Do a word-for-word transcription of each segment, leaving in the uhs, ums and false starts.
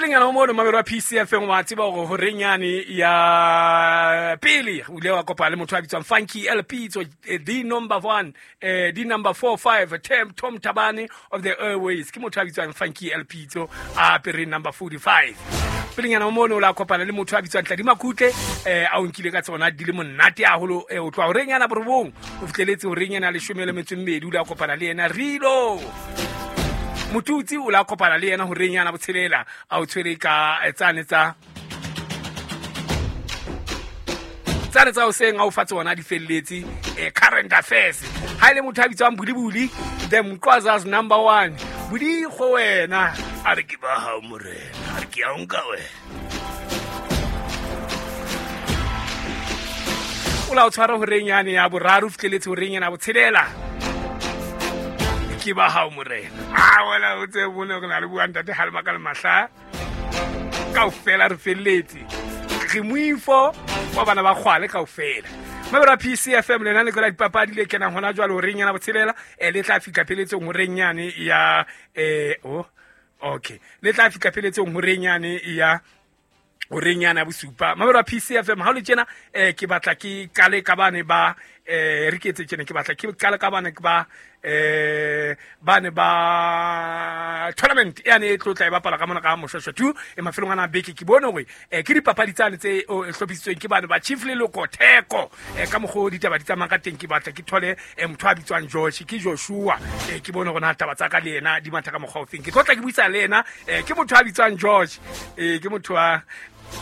Pelenyana o mono mamelo wa P C F M wa tseba hore horeng yane ya pele o ile wa kopana le motho a bitswang Funky L P, so the number one, eh the number four five Tom Tabane of the Airways. Ke motho a bitswang Funky L P, so a apere number forty-five. Pelenyana o mono la kopana le motho a bitswang Tladi Makutle, eh a o nkile ka tsona di le monate haholo, eh o tloha horeng yana borobong o fihleletse horeng yana leshome le metso e mmedi, o la kopana le yena Rilo Motutsi, o la kopana le yena horeng yana botshelela a o tshwere ka tsane tsa tsane tsa hoseng a o fa tsona di felletse, eh current affairs. Ha ile motho a bitswang Bulibuli, the Mqwaza's number one Budi go wena a re ke ba hao morena, a re ke a nka wena. O la o tshwara horeng yane ya boraro fihleletse horeng yana botshelela, ke ba hao morena. A wena o tse bone re na le bua ntate Halma ka le mahla kaofela re felletse re moifo wa bana ba kgwale kaofela. Mabera P C F M lena le kola dipapadi le kenang hona jwale horeng yana botshelela, eh le tla fihla pheletsong horeng yane ya eh oh okay le tla fihla pheletsong horeng yane ya horeng yana bosupa. Mabera P C F M ha le tjena eh ke batla ke kale ka bane ba eh re ke etse tjena ke batla ke kale ka bane ba eh bane ba tournament yane e tlotla e bapala ka mona ka Moshweshwe two e mafelong ana beke. Ke bone hore eh ke dipapadi tsane tse hlophisitsweng ke bane ba Chief Leloko Theko, eh ka mokgo ditaba di tsamaya ka teng. Ke batla ke thole eh motho a bitswang Josh, ke Joshua, eh ke bone hore na taba tsa ka le yena di matha ka mokgwa o feng. Ke tlotla ke buisa le yena, eh ke motho a bitswang Josh, eh ke motho a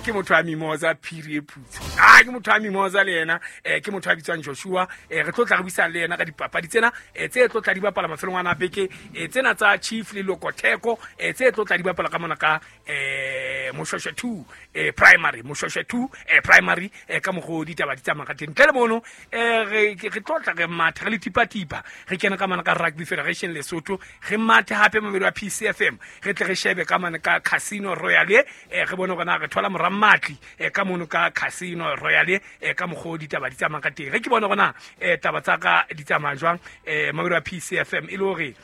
ke motho a Mimosa Phiri e Phutse, ah ke motho a Mimosa le yena, eh ke motho a bitswang Joshua. Eh re tlotla re buisana le yena ka dipapadi tsena eh tse tlotla di bapala mafelong ana beke, eh tsena tsa Chief Leloko Theko, eh tse tlotla di bapala ka mona ka eh Moshweshwe two eh primary, Moshweshwe two eh primary, eh ka mokgo ditaba di tsamaya ka teng. Ntle le mono eh re re tlotla re matha re le tipa-tipa re kena ka mona ka Rugby Federation Lesotho, re mathe hape mamelo wa P C F M, re tle re shebe ka mona ka Casino Royale, eh re bone hore na re thola morammatli eh ka mono ka Casino Royale, eh ka mokgo ditaba di tsamaya ka teng. Re ke bone hore na eh taba tsa ka di tsamaya jwang eh mamelo wa P C F M, e le hore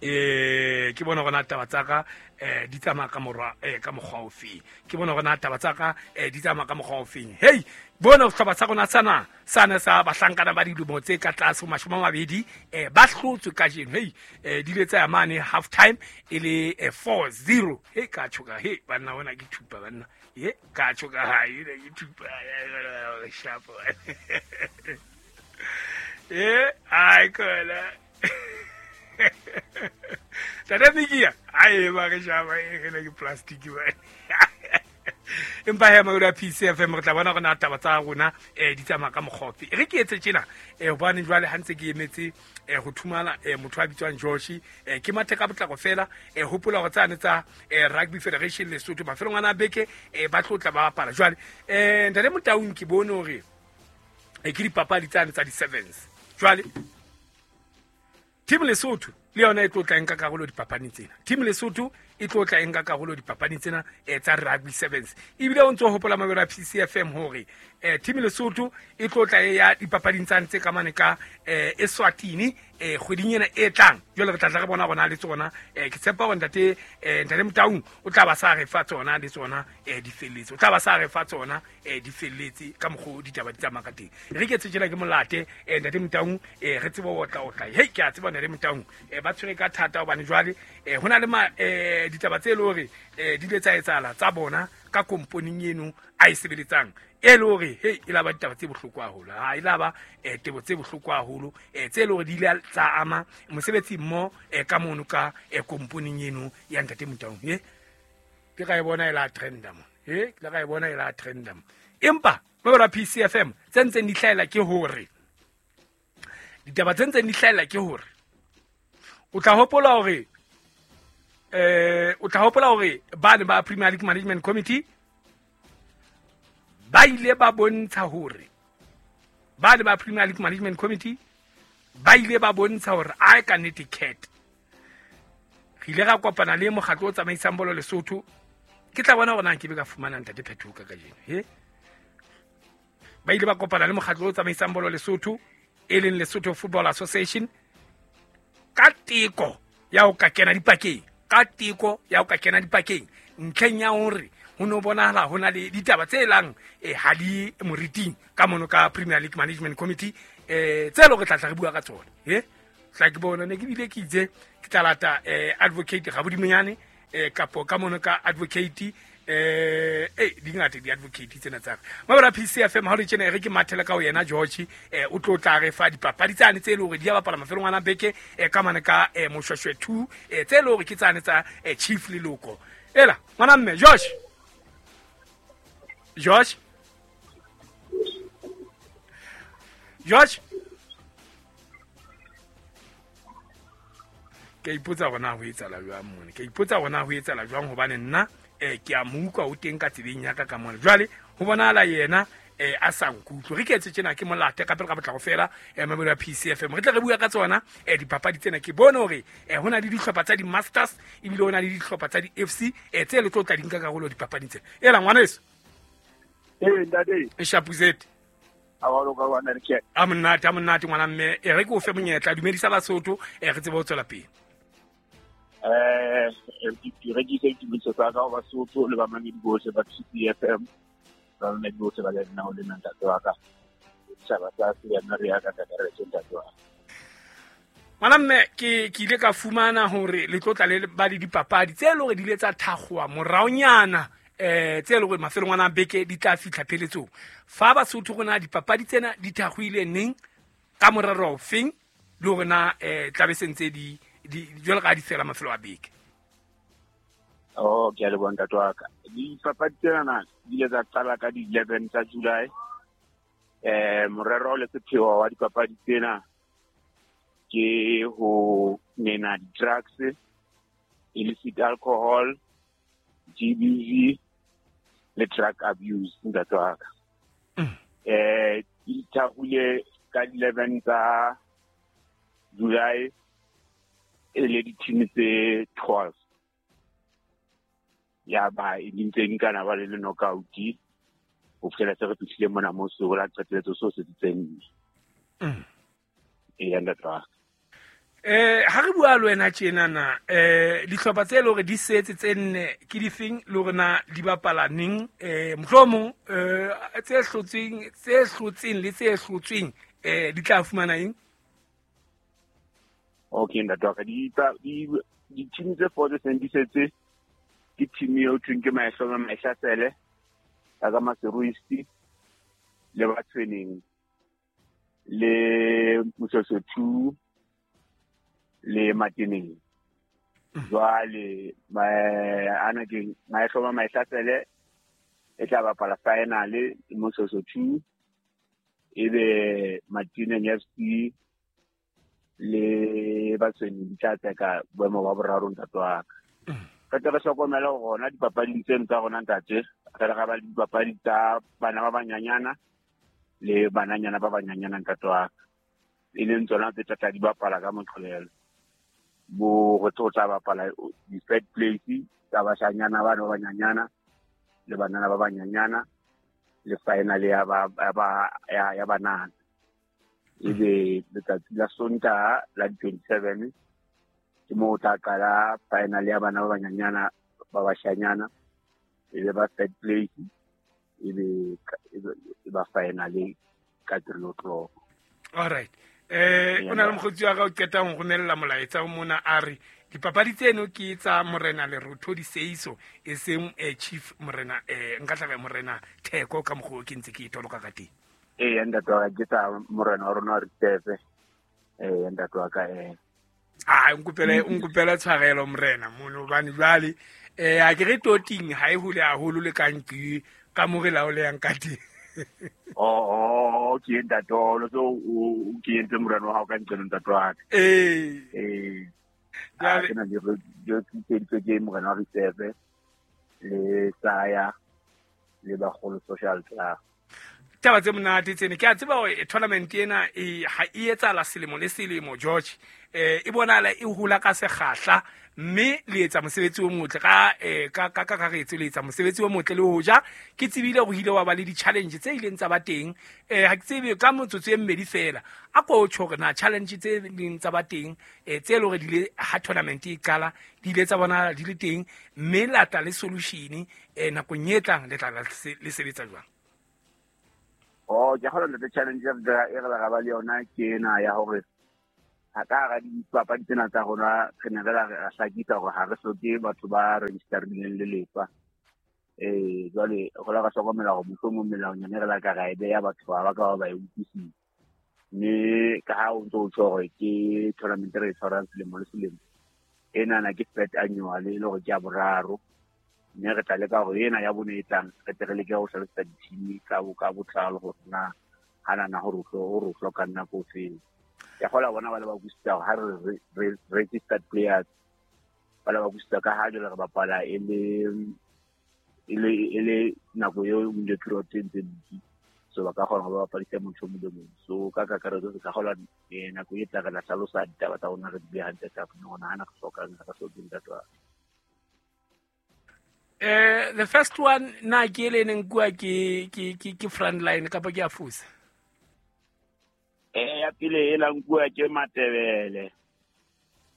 eh ke bona hore na taba tsa ka eh di tsamaya ka morwa eh ka mokgwa o feng. Ke bona hore na taba tsa ka eh di tsamaya ka mokgwa o feng. Hey bona sehlopha sa rona sana sana sa bahlankana ba dilemo tse ka tlase ho mashome a mabedi eh ba hlotswe kajeno. Hey eh di ile tsa ya mane half time e le four zero. Hey ka tshoka, hey banna bona ke thupa banna, ye ka tshoka ha ile ke thupa shapo eh ai kola Tata Mikia, ai ba re shaba e le ke plastic ba. Empa he ma P C F M re tla bona rona taba tsa rona eh di tsamaya ka mokgofi. Re ke etse tjena eh hobane jwale ha ntse ke emetse eh ho thumana eh motho a bitswang Josh, eh ke mathe ka potlako fela, eh hopola hore tsane tsa eh Rugby Federation Lesotho mafelong ana beke eh ba tlotla ba bapala. Jwale eh ntate Motaung ke bone hore eh ke dipapadi tsane tsa di sevens. Jwale Team Lesotho le yona e tlotla nka karolo dipapading tsena. Team Lesotho e tlotla nka karolo dipapading tsena eh tsa Rugby Sevens. Ebile o ntso hopola mabelo a P C F M hore eh Team Lesotho e tlotla ya dipapading tsa ntse ka mane ka eh Eswatini eh kgweding ena e tlang. Jwale re tla tla re bona rona le tsona, eh ke tshepa hore ntate eh ntate Motaung o tla ba sa re fa tsona le tsona eh di felletse. O tla ba sa re fa tsona eh di felletse ka mokgo ditaba di tsamaya ka teng. Re ke tse tjena ke molate eh ntate Motaung, eh re tsebe ho tla o tla. Hey ke a tseba ntate Motaung eh ba tshwere ka thata hobane jwale eh hona le ma eh ditaba tse le hore eh di ile tsa etsahala tsa bona ka komponing eno a e sebeletsang e le hore hey e la ba ditaba tse bohloko haholo, ha e la ba eh tebo tse bohloko haholo eh tse le hore di ile tsa ama mosebetsi mmo eh ka mono ka eh komponing eno ya ntate Motaung. He ke ka e bona e la trenda mo, he ke ka e bona e la trenda mo. Empa ba P C F M tse ntseng di hlahela ke hore ditaba tse ntseng di hlahela ke hore o tla hopola hore eh o tla hopola hore ba ne ba Premier League Management Committee ba ile ba bontsha hore ba ne ba Premier League Management Committee ba ile ba bontsha hore a ka nnete cat re ile ra kopana le mokgatlo o tsamaisang bolo Lesotho. Ke tla bona hore na ke be ka fumana ntate Phetoho ka kajeno. He ba ile ba kopana le mokgatlo o tsamaisang bolo Lesotho e leng Lesotho Football Association ka teko ya ho ka kena dipakeng, ka teko ya ho ka kena dipakeng Ntlheng ya hore ho no bonahala ho na le ditaba tse lang eh ha di moriting ka mono ka Premier League Management Committee eh tse lo re tla tla re bua ka tsona eh tla ke bona ne ke bile ke itse ke tla lata eh advocate Rabodimonyane eh kapo ka mono ka advocate eh eh di ngata di advocate tsena tsa mabra P C F M ha re tjena re ke mathela ka ho yena George eh o tlo tla re fa dipapadi tsane tse le hore di a bapala mafelong ana beke eh ka mane ka eh Moshweshwe two eh tse le hore ke tsane tsa eh Chief Leloko ela ngwana mme George George George ke ipotsa hore na ho etsahala jwang mone ke ipotsa hore na ho etsahala jwang hobane nna eh ke a mo utlwa o teng ka tsebeng ya ka ka mona jwale ho bonahala yena eh a sa nkutlwe re ke etse tjena ke molate ka pele ka botlako fela eh mabelo ya P C F M re tle re bua ka tsona eh dipapadi tsena ke bone hore eh hona le dihlopha tsa di-masters ebile hona le dihlopha tsa di-F C eh tse le tlo tla di nka karolo dipapading tsena ela ngwaneso eh ntate e Shapuzet a wa loka wa nna a monate a monate ngwana mme e re ke o fe monyetla dumedisa Basotho eh re tsebe ho tswela pele eh ke rekise dithuso tsa ka ho Basotho le bamamedi bohle ba P C F M ba bamamedi bohle ba lena ho lena ntate wa ka setjhaba sa se ya nna re ya ka kakaretso ntate wa ngwana mme ke ke ile ka fumana hore le tlo tla le ba le dipapadi tse le hore di ile tsa thakgowa moraonyana eh tse le hore mafelong ana beke di tla fihla pheletsong fa Basotho rona dipapadi tsena di thakgoile neng ka morero ofeng le hore na eh tla be sentse di di jwalo ka di fela mafelo a beke. Oh ke a leboha ntate wa ka dipapadi tsena di ile tsa qala ka di eleven tsa July eh morero le sepheo wa dipapadi tsena ke ho nena di-drugs, illicit alcohol, G B V le drug abuse ntate wa ka. Eh di thakgile ka eleven tsa July e le di-team tse twelve ya ba e ntse nkana ba le le knockout ho fihlela se re fihlile mona mo so la qetelletso so se tseng e ya ntate wa ka. Eh ha re bua le wena tjena na eh dihlopha tse le hore di setse tse nne ke difeng le hore na di bapala neng eh mohlomong eh tse hlotsweng tse hlotseng le tse hlotsweng eh di tla fumana eng? Okay ntate wa ka di di di-team tse four tse seng di setse ke team eo thweng ke Maehlomo Maehlasele ya ka Maseruisti le Batshweneng le Moshweshwe two le Mateneng. Jwale ana ke Maehlomo Maehlasele e tla bapala final le Moshweshwe two ebe Mateneng F C le Batshweneng di tla tseka boemo ba boraro ntate wa ka. Re tle re hlokomele hore hona dipapading tseno tsa rona ntate re re ba le dipapadi tsa bana ba banyanyana le bananyana ba banyanyana ntate wa ka e leng tsona tse tla di bapala ka Moqebelo bo re tlo tla bapala di-third place tsa bashanyana bana ba banyanyana le banana ba banyanyana le final ya ba ya ya banana ebe letsatsi la Sontaha la twenty-seven ke moo o tla qala final ya bana ba banyanyana ba bashanyana ebe ba third place ebe e ba final ka three o'clock. All right eh o na le mokgotsi wa ka o qeta ho romella molaetsa o mona a re dipapadi tseno ke tsa Morena Lerotho Diseiso e seng eh Chief Morena eh nka tla Morena Theko ka mokgwa ke ntse ke itoloka ka teng. Eh ntate wa ka ke tsa morena wa rona re Tefe eh ntate wa ka eh ah nkopele nkopele tshwarelo morena mono hobane jwale eh a ke re toting ha e hole haholo le ka nki ka mo re laoleyang ka teng. Oh oh ke ntate o so o ke entse morena wa hao ka ntle ntate wa ka. Eh eh ke na le re ke ke morena wa Reserve le Saya le Bagolo Social Club. Taba tse monate tsene ke a tseba hore tournament ena e ha e etsahala selemo le selemo George eh e bonahala e hula ka sekgahla mme le etsa mosebetsi o motle ka eh ka ka kakaretso le etsa mosebetsi o motle le hoja ke tsebile hore ile wa ba le di-challenge tse ileng tsa ba teng eh ha ke tsebe ka motsotso e mmedi fela a ko tjho hore na challenge tse leng tsa ba teng eh tse le hore di ile ha tournament e qala di ile tsa bona di le teng mme la tla le solution eh nakong e tlang le tla le sebetsa jwang. Oh, ke kgona le challenge e re ra ba le yona ke ena ya hore ha ka ra dipapadi tsena tsa rona re ne re ra hlakisa hore ha re hloke batho ba registerileng le lefa. Eh jwale go la ka hlokomela hore mohlomong melaonyana e re la ka ra e beya batho ba ba ka ba e utlwisisa. Mme ka ha o ntso o tjho hore ke tournament re e tshwarang selemo le selemo enana ke third annual e le hore ke ya boraro. Mme re tla leka hore ena ya bone e tlang re tle re leke ho hlalosetsa di-team ka bo ka botlalo hore na hanana hore o hloka nako ofeng. Ke kgola bona ba le ba utlwisisa hore ha re re registered players ba le ba utlwisisa ka ha jwale re bapala e le e le e le nako eo window period e ntse dutse so ba ka kgona ho ba bapadisa motho o mong le mong. So ka kakaretso re ka kgola nako e tla re la hlalosa ditaba tsa rona re di behe hantle ka hore hana re hlokang re hlokeng ntate wa. Eh the first one na ke le neng kua ke ke ke ke front line kapa ke a fusa. Eh ya pele e la nkuwa ke Matebele.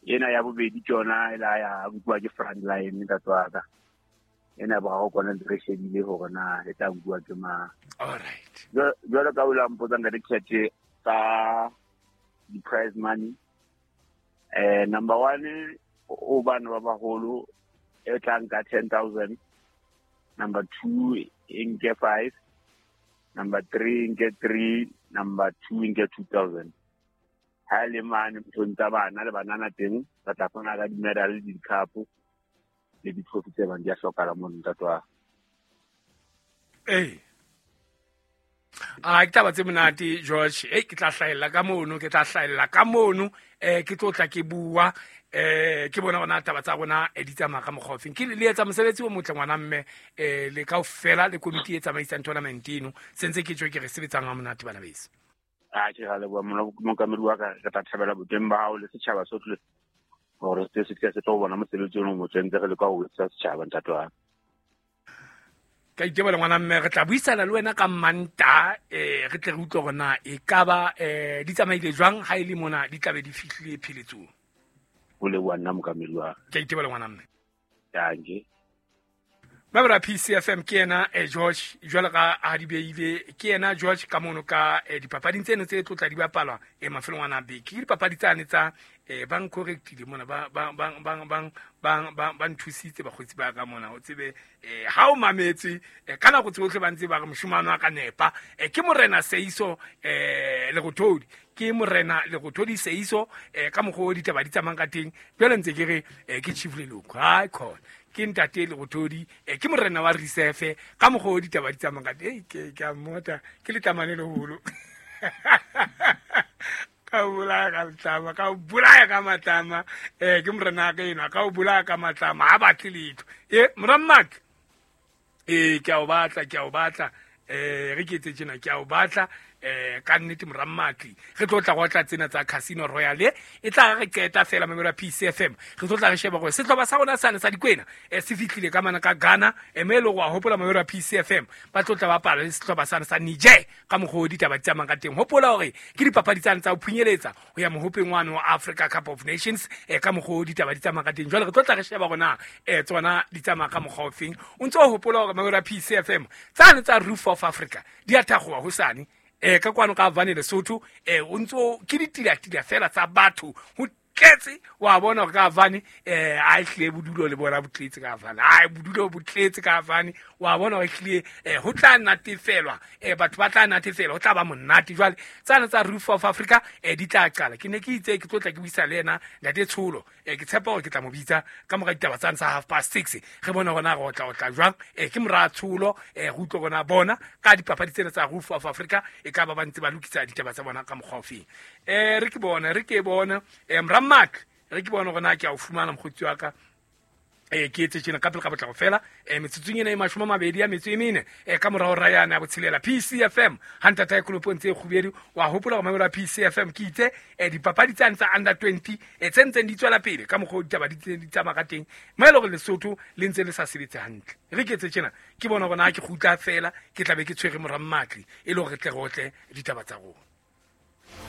Ena ya bobedi ke yona e la ya nkuwa ke front line ntate wa ka. Ena ba go kona re shebile hore na e tla nkuwa ke mang. All right. Jwalo ka o la mpotsa ntate Khethe ka di prize money. Eh number one o bana ba baholo e tla nka ten thousand, number two e nke five, number three nke three, number two nke two thousand. Ha le mane nthong tsa bana le banana teng re tla fana ka di-medal le di-cup le di-trophy tse bang di a hlokahala mono ntate wa. Eh a ke taba tse monate George eh ke tla hlahella ka mono ke tla hlahella ka mono eh ke tlo tla ke bua eh ke bona bona taba tsa rona e di tsamaya ka mokgwa ofeng ke le etsa mosebetsi o motle ngwana mme eh le kaofela le komiti e tsamaisang tournament eno sentse ke tjho ke re sebetsang ha monate bana beso. A ke ra leboha mokamedi wa ka re tla thabela boteng ba hao le setjhaba sohle hore se se se tlo bona mosebetsi ono o motle ntse re leka ho etsa setjhaba ntate wa. Ka itebola ngwana mme re tla buisana le wena ka Manta eh re tle re utlwe hore na e ka ba eh di tsamaile jwang ha e le mona di tlabe di fihlile pheletsong. O leboha nna mokamedi wa. Ke itebola ngwana mme. Danke. Babra P C F M ke yena eh George jwalo ka ha di beile ke yena George ka mono ka eh, dipapading tseno tse tlotla di bapalwa eh mafelong ana beke ke dipapadi tsane tsa eh ba ncorrectile mona ba ba ba ba ba ba ba nthusitse bakgotsi ba ka mona o tsebe eh ha o mametse eh, ka nako tsohle ba ntse ba re moshomano a ka nepa eh, ke morena Seiso eh Lerothodi ke morena Lerothodi Seiso eh, ka mokgwa o ditaba di tsamayang ka teng jwale ntse ke re eh, ke Chief Leloko hai khona ke ntate Lerothodi eh, ke morena wa Reserve ka mokgwa o ditaba di tsamayang ka teng ke ke a mmota ke letlamane leholo ka bolaya ka matlama ka bolaya ka matlama eh ke morena ka ena ka o bolaya ka matlama ha batle letho e morammatla eh ke a o batla ke a o batla eh re ke etse tjena ke a o batla eh ka nnete morammatli re tlo tla go tla tsena tsa Casino Royale e tla re qeta fela mamelo P C F M re tlo tla re sheba gore setlhoba sa rona sane sa dikwena eh se fihlile ka mana ka Ghana e me le go a hopola mamelo P C F M ba tlo tla ba pala le setlhoba sane sa Niger ka mokgwa o ditaba di tsamayang ka teng hopola hore ke dipapadi tsane tsa ho phunyeletsa ho ya mohopeng wa Africa Cup of Nations eh ka mokgwa o ditaba di tsamayang ka teng jwale re tlo tla re sheba rona eh tsona di tsamaya ka mokgwa o feng o ntse o hopola hore mamelo P C F M tsane tsa Roof of Africa di a thagoa hosane eh ka kwano ka Vane Lesotho eh o ntso ke ditila-tila fela tsa batho ho tletse wa bona hore ka Vane eh a hlile bodulo le bona botletse ka Vane ai bodulo botletse ka Vane wa bona hore hlile eh ho tla natefelwa eh batho ba tla natefelwa ho tla ba monate jwale tsana tsa Roof of Africa eh di tla qala ke ne ke itse ke tlotla ke buisa le yena ntate Tsholo eh ke tshepa hore ke tla mo bitsa ka mora ditaba tsane tsa half past six re bona hore na re otla otla jwang eh ke mora Tsholo eh re utlwe rona bona ka dipapadi tsena tsa Roof of Africa e ka ba ba ntse ba lokisa ditaba tsa bona ka mokgwa o feng eh re ke bona re ke bona eh mra Mark re ke bona hore na ke a o fumana mokgotsi wa ka Eh ke etse tjena ka pele ka potlako fela eh metsotsong ena e mashome a mabedi a metso e mene eh ka morao ra yana ya botshelela P C F M ha ntata ya kolopong tse kgubedu wa hopola hore mamelo a P C F M ke itse eh dipapadi tsane tsa under twenty eh tse ntseng di tswela pele ka mokgwa o ditaba di di tsamaya ka teng mo e le hore Lesotho le ntse le sa sebetse hantle re ke etse tjena ke bona hore na ke kgutla fela ke tla be ke tshwere mora Mmatli e le hore re tle re otle ditaba tsa rona.